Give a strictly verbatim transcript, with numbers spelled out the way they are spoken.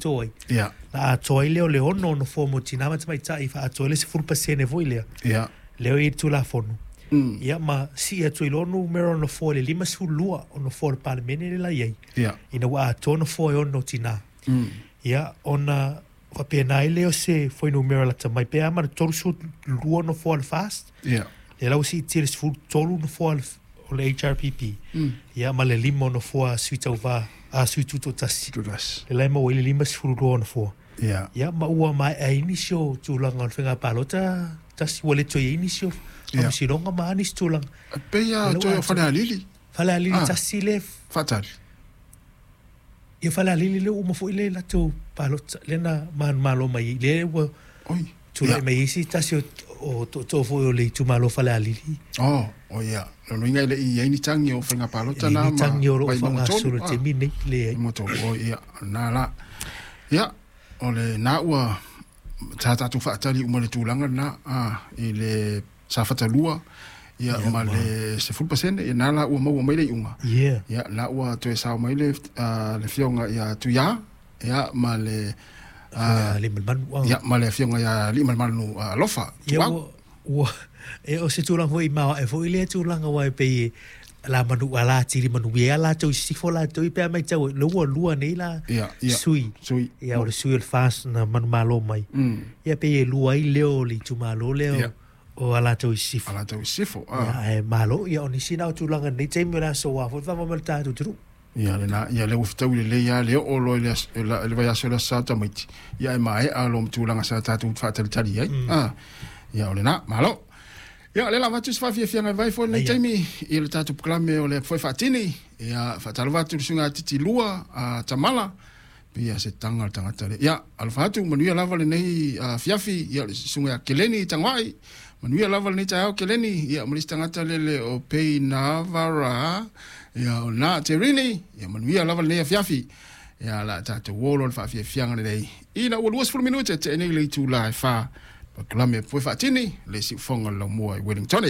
Atoa ai. Ia. Na atoa ai lea o le ono nofoa mo tinā ma tamaitai faaatoa ai le sefulu pasene foi lea. Ia. Lea ua i ai le Tulafono. Mm. Ia ma sii atu ai loa numera o nofoa i le lima sefulu lua o nofoa o le Palemene lea la i ai. Ia. Ina ua atoa nofoa e ono o tinā. Mm. Ia ona faapena ai lea o se fuainumera lata mai pe a ma le tolusefulu lua nofoa o le FAST. Ia. Lea la ua siitia i le sefulu tolu nofoa o le H R P P. Mm. Ia ma le lima o nofoa a sui tauvā, a sui tutoatasi. Tutoatasi. Lea la e maua ai le lima sefulu lua o nofoa. Ia. Ia ma ua maea ai nisi o tulaga o le faiga palota tasi ua le toe i ai nisi o faamasinoga ma a nisi tulaga. E pei lava Lea toe ua o Falealili. Falealili Ah. tasi le Faatali. Ia Falealili lea ua uma foi le latou palota lea na manumalo mai ai lea ua Oi. tulai Ia. mai ai se tasi o o tootoo foi o le itumalo Falealili. Oh, o ia. Lona uiga e le i ai ni tagi o faiga palota E leai na ni ma tagi o loo Vaimauga tolu. faagasolo i le Ah. taimi lenei, leai. Vaimauga tolu. O ia, na la. Ia, o le na ua sa tatou faatali uma le tulaga lena ah, i le Safata lua ia Ia, ma ma- le sefulu pasene ia na la ua maua mai le iuga. Yeah. Ia na ua toe sao mai le ah, le afioga ia Tuia ia ma le ah, Aliimalemanu. Ah. ia ma le afioga ia Aliimalemanu ah, Alofa Ia Tuau. ua ua e o se tulaga foi maoae foi lea tulaga aua e pei e la manu ala atili manuia ai latou i sisifo latou i pe a matau ai lea ua lua nei la Ia ia sui. Sui. Ia o le sui o le FAST na manumalo mai. Mm. Ia pei e lua ai leo o le itumalo lea Ia. o Alataua i Sisifo. Alataua i Sisifo. Ah. Ia ae malo ia o nisi na o tulaga nei taimi o le aso ua foi faamoemoe le tatou atunuu. Ia lena ia lea ua fetaui lelei lava le oo loa i le aso- la- le vaiaso o le Aso Sa tamaiti ia e maea lo ma tulaga sa tatou faatalitali ai. Ah. Ia o lena malo. Ia o lea la avatu se faafiafiaga e vai foi lenei Ia. taimi i le tatou proklame o le foe faatini. Ia faatalofa atu i le suiga titi lua a Tamala pei se taga le tagata le. Ia alofa atu manuia lava lenei afiafi ia le susuga ia Keleni Tagoai. Manuia lava lenei taeao Keleni ia ma le isi tagata lele o Pei Navara ia o lena Terini ia manuia lava lenei afiafi. Ia la tatou uo loa le faafiafiaga lelei. Ina ua luasefulu minute te'e nei le itulā e fā. Pakalame foe faatini le siufoga o le laumua i Wellington.